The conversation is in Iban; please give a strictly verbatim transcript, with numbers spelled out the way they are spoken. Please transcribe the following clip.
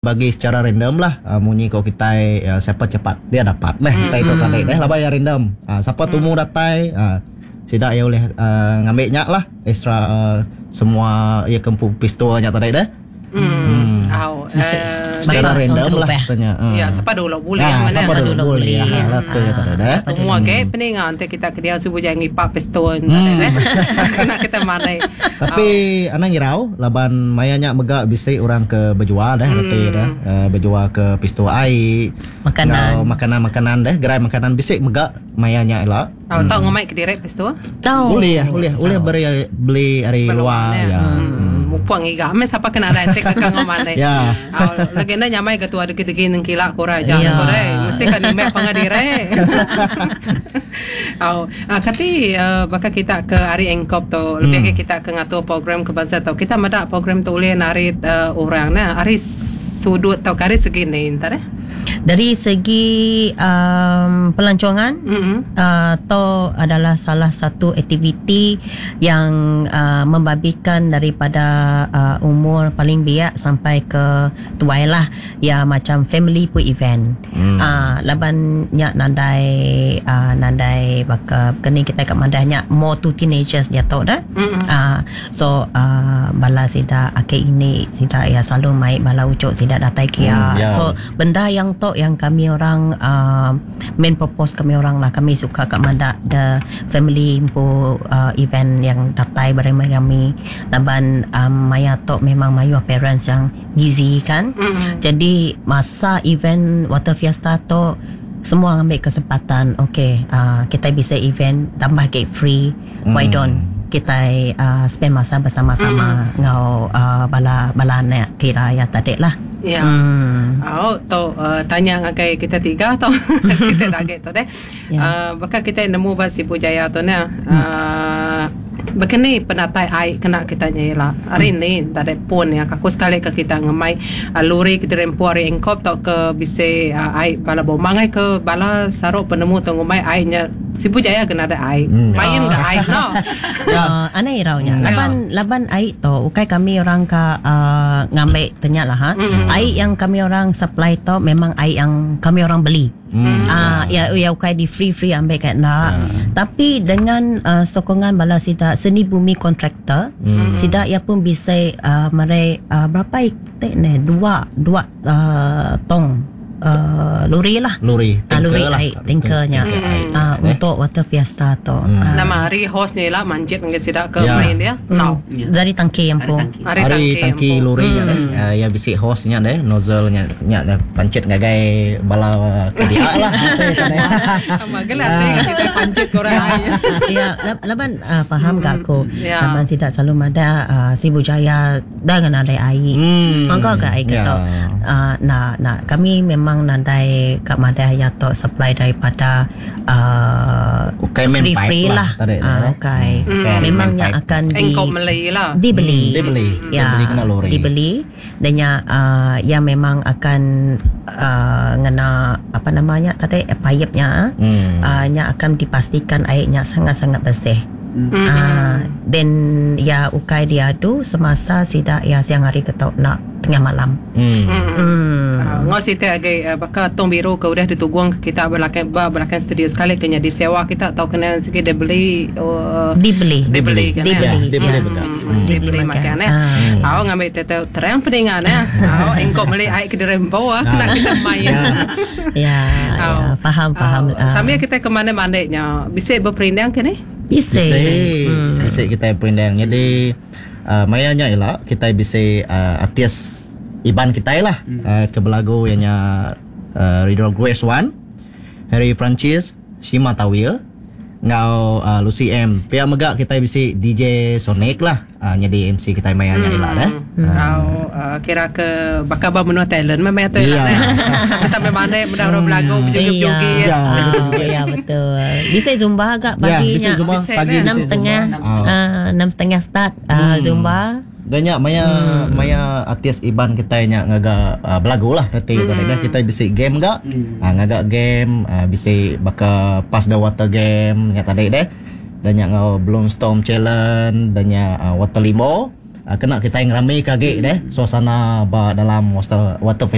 Bagi secara random lah, uh, munyi ko kitai, uh, siapa cepat dia dapat meh mm. Utai tu tadi deh, laban ya random. Uh, siapa tumu datai, uh, sida ya boleh uh, ngambil nya lah extra, uh, semua ya kempu pistol nya tadi deh. Hmm. hmm. Au. Uh, secara random lah tanya. Uh. Ya, siapa dulu boleh. Ah, siapa dulu boleh. Ya, lah tu ya tadi deh. Semua ke peninga nanti kita ke dia subuh jangan ngipak pistol tadi deh. Kena kita manai. Tapi anak ngirau laban mayanya mega bisi orang ke berjual deh, reti deh. Uh, berjual ke pistol air, makanan, makanan-makanan deh, gerai makanan bisi mega mayanya elak. Tahu tahu ngomai ke direk pistol? Tahu. Boleh ya, boleh. Boleh beri beli ari luar ya. Mupuang iga me sapa kena rantik ke kang ngomane. Ya. Legenda nyamai ke tua degi-degi nengkila kora aja kore. Mesti kan nime pangadire. Au, kati baka kita ke ari engkop tu lebih ke kita ke ngatur program ke bangsa tu. Kita medak program tu ulih narit orang nah ari sudut tau kari segi ni entar eh. Dari segi um, pelancongan, mm-hmm. uh, to adalah salah satu aktiviti yang uh, membabikan daripada uh, umur paling biak sampai ke tuai lah. Ya macam family pun event. Mm. Uh, laban nyak nandai uh, nandai baka kini kita kat mandahnya more to teenagers dia tahu dah. Mm-hmm. Uh, so uh, bala sida ake ini sida ya selalu mai bala ucuk sida datai kia. Mm, yeah. So benda yang tu yang kami orang uh, main purpose kami orang lah, kami suka kat mana the family impu uh, event yang datai beramai-ramai laban um, maya tu memang mayu parents yang busy kan. Mm-hmm. Jadi masa event Water Fiesta tu semua ambil kesempatan, okay, uh, kita bisa event tambah gate free, mm. why don't kita uh, spend masa bersama-sama mm. ngau uh, bala bala anak kira ya tadi lah. Ya. Hmm. Oh, tu uh, tanya ngagai kita tiga tu. Kita target tu deh. Ya. Uh, bakal kita nemu ba Sibu Jaya tu ne. Uh, Begini penatai air kena kita nyela. Hari Hmm. ni tak ada pun ya. Aku sekali ke kita ngemai uh, lori ke dirempu hari engkop tau ke bisa uh, air bala bomang ke bala saruk penemu tu ngemai airnya Sibu Jaya kena ada air. Hmm. Main ke air no. Ya. Uh, aneh iraunya. Hmm. Laban laban air tu ukai kami orang ke uh, ngambil tanya lah ha. Mm. Air yang kami orang supply tu memang air yang kami orang beli. Hmm. Ah ya ya ukai di free free ambil kat nak. Tapi dengan uh, sokongan bala sida seni bumi kontraktor, Hmm. sida ia pun bisa uh, mere uh, berapa itik ni? Dua dua uh, tong uh, lori lah. Lori, Ah, lori tanker lah. air, tankernya. Tanker air. Ah, Eh. untuk Water Fiesta tu. Hmm. Ah. Nama hari host ni lah manjit dengan sidak ke Ya. main dia. No. Hmm. Dari tangki yang pun. Hari Hari tangki empu. lori nya deh. Uh, yang bisi hose nya deh, nozzle nya nya deh pancit ngagai bala ke dia lah. Sama gelat uh. kita pancit korang air. Ya, lab- laban uh, faham hmm. aku. Ya. Laban tidak selalu mada uh, Sibu Jaya dengan ada air. Hmm. Mangga ke air Ya. kita. Uh, nah, nah kami memang nadai kat madai ya tok supply daripada uh, Ukai main free pipe free lah lah. tadi, Ah, eh. ukai. Hmm. Ukai Memangnya main pipe. akan di Engkau Malay lah. dibeli. Hmm, dibeli. Ya, Dibeli kena lori. Dibeli dan ya uh, yang memang akan uh, ngena apa namanya tadi eh, pipe-nya Hmm. uh, nya akan dipastikan airnya sangat-sangat bersih. Hmm. Ah, then ya ukai diadu semasa sidak ya siang hari ke tau nak tengah malam. Hmm. Hmm. Uh, ngau siti agai uh, bakal tong biru ke udah dituguang ke kita belakang ba belakang studio sekali kena disewa kita atau kena sikit dia beli uh, Dibeli. dibeli kan Dibeli. Ya, dibeli Ya. betul. Hmm. Dibeli makan eh. Ah. Awak ngambil tetep terang peningan eh. Awak engkau beli air ke dirempo ah kena kita main. Ya, ya, Aw. faham faham. Aw, Ah. Sambil kita ke mana-mana nya bisa berperindang ke ni? Bisa. Bisa. Hmm. Bisa kita perindang. Jadi uh, mayanya ialah kita bisa uh, artis Iban kita lah hmm. uh, ke belagu ianya uh, Ridho Grace One, Harry Francis, Shima Tawil, ngau uh, Lucy M. Pihak megak kita bisa D J Sonic lah. Uh, jadi M C kita mayanya hmm. ialah dah. Hmm. Au uh, kira ke bakal ba menua talent memang tu Ya. ialah. Sampai sampai mana benda orang belagu berjoget-joget. Ya. Ah, ya betul. Bisa zumba agak Ya, paginya. bisa zumba Bisa, pagi kan? Enam bisa setengah, zumba. Ah. ah, enam setengah start ah, zumba. Banyak maya hmm. maya artis Iban kita nya ngaga uh, belagu lah reti hmm. tadi dah kita bisi game gak hmm. uh, ngaga game uh, bisi baka pass the water game nya tadi deh dan nya ngau Bloomstorm challenge dan nya uh, water limo. Kena kita ngerami ke agi deh suasana ba dalam water, water